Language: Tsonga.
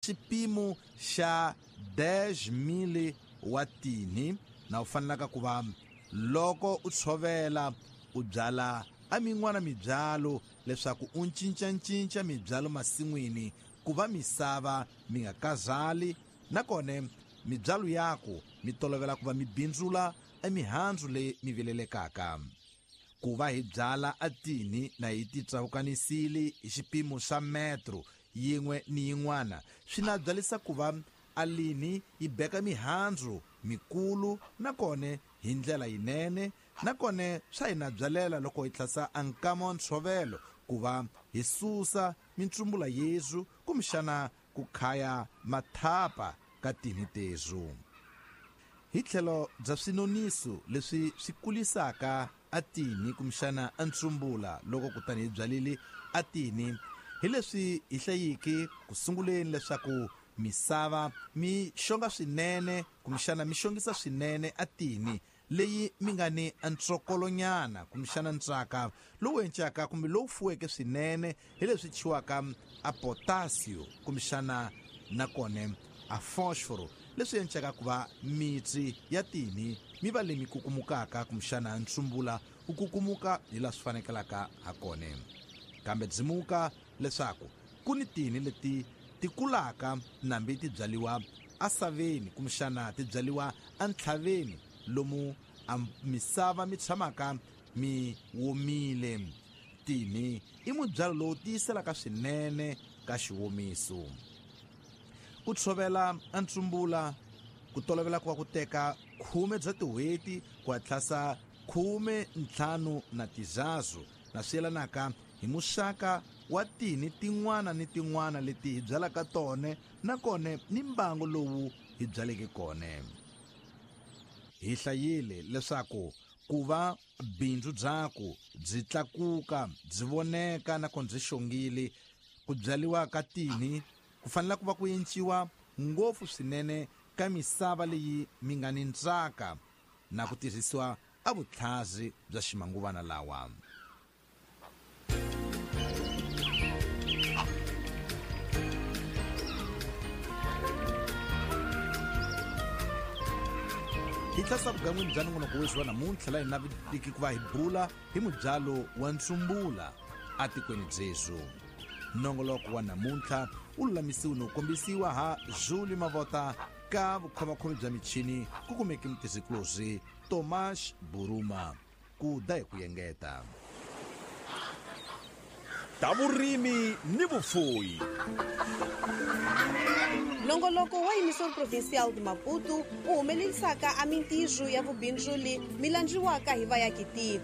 Xipimo xa 10 mili wa tinhi na u fanelaka ku va loko u tshovela u byala a min'wana mibyalo leswaku u cincacinca mibyalo masin'wini ku va misava mi nga kazali, nakona mibyalo yaku mi tolovela ku va mi bindzula emihandzu leyi mi vilelekaka. Ku va hi byala a tinhi na hi ti tsawukanisile hi xipimo xa metro yin'we ni yin'wana swi na byalisa ku va a linhi yi beka mihandzu mikulu nakona hi ndlela yinene, nakona swa hi na byalela loko hi tlhasa a nkama wa ntshovelo ku va hi susa mintsumbula yezu kumbexana ku khaya mathapa ka tinhi tezu. Hi tlhelo bya swinoniso leswi swi kulisaka a tinhi kumbexana a ntsumbula loko kutani hi byalile a tinhi, hi leswi hi hlayiki ku sunguleni leswaku misava mi xonga swinene kumbexana mi xongisa swinene a tinhi leyi mi nga ni ntsokolonyana kumbexana ntsaka lowu encaka kumbe lowu fuweke swinene hi leswi thyiwaka a potasio kumbexana nakona a fosforo, leswi encaka ku va mitsi ya tinhi mi va leyi mi kukumukaka kumbexana ntsumbula wu kukumuka hi laha swi fanekelaka ha kona. Kambe dzimuka leswaku ku ni tinhi leti ti kulaka nambi ti byaliwa asaveni kumbexana ti byaliwa entlhaveni lomu a misava mi tshamaka mi womile. Tinhi i mubyalo lowu tiyiselaka swinene ka xiwomiso. Ku tshovela a ntsumbula ku tolovela ku va ku teka 10 bya tin'hweti ku hatlasa 15 na tizazu, na swi yelanaka hi muxaka wa tinhi tin'wana ni tin'wana leti hi byalaka tona nakona ni mbango lowu hi byaleke kona. Hi hlayile leswaku ku va bindzu byaku byi tlakuka byi voneka nakona byi xongile, ku byaliwa ka tinhi ku fanele ku va ku enciwa ngopfu swinene ka misava leyi mi nga ni ntsaka na ku tirhisiwa a vutlhazi bya ximanguvana lawa. Hi tlhasa vugan'wini bya nongonoko wexi wa namuntlha laha hi navetiki ku va hi bula hi mubyalo wa ntsumbula atikweni byezu. Nongoloko wa namuntlha wu lulamisiwe no kombisiwa ha Julie Mavota ka vukhomakhomi bya michini ku kumeke mutirhikulozi Tomas Buruma. Ku da hi ku yengeta. Ta vurimi ni vufuwi. Nongoloko wa Emissor Provincial de Maputo wu humelerisaka a mintirho ya vubindzuli mi landziwaka hi vayakitiko.